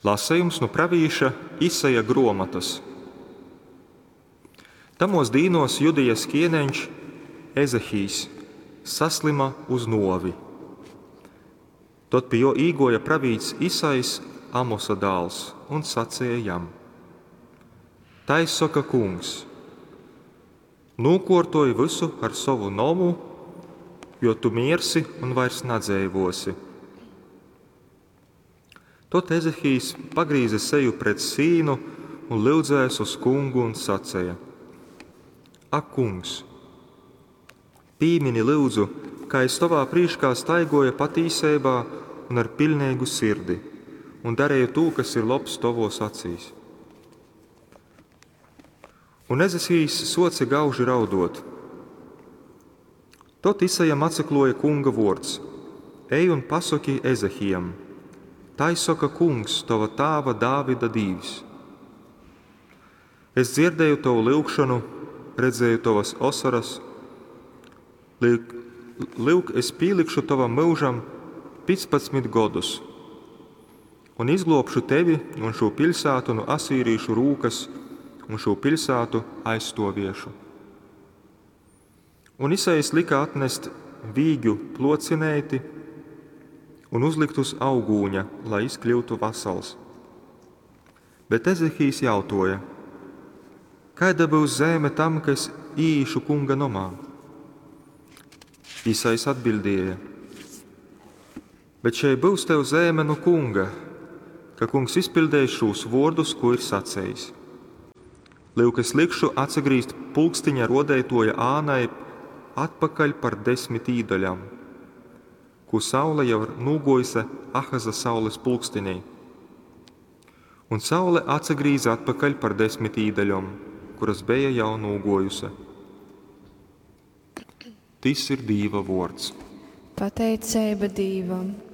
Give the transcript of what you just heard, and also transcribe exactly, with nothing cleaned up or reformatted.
Lasejums nu pravīša Isaja gruomotas. Tamuos dīnuos Judejas kieneņš Ezehijs saslyma uz nuovi. Tod pi juo īguoja pravīts Isajs, Amosa dāls, un saceja jam: Tai soka Kungs: Nūkuortoj vysu ar sovu nomu, jo tu miersi un vairs nadzeivuosi. Tod Ezehijs pagrīze seju pret sīnu un lyudzēs uz Kungu un saceja: Ak, Kungs, pīmini, lyudzu, kā es tovā prīškā staiguoju patīseibā un ar piļneigu sirdi, un darīju tū, kas ir lobs tovos acīs. Un Ezehijs suoce gauži rauduot. Tod Isajam atsakluoja Kunga vuords: Ej un pasoki Ezehijam: Tai soka Kungs, tova tāva Dāvida Dīvs: Es dzierdēju tovu lyugšonu, redzēju tovas osoras. Lyuk, lyuk, es pīlikšu tovam myužam pīcpadsmit godus un izgluobšu tevi un šū piļsātu nu asīrīšu rūkas un šū piļsātu aizstuoviešu. Un Isajs lika atnest vīģu plocineiti un uzlikt uz augūņa, lai jis kļūtu vasals. Bet Ezehijs jautoja: Kaida byus zeime tam, ka es īīšu Kunga nomā? Isajs atbildēja: Bet šei byus tev zeime nu Kunga, ka Kungs izpiļdeis šūs vuordus, ko ir sacejis. Lyuk, es likšu atsagrīzt pulkstiņa ruodeituoja ānai atpakaļ par desmit īdaļām, kū saule jau ir nūguojuse Ahaza saules pulkstinī. Un saule atsagrīze atpakaļ par desmit īdaļom, kuras beja jau nūguojuse. Tys ir Dīva vuords. Pateiceiba Dīvam!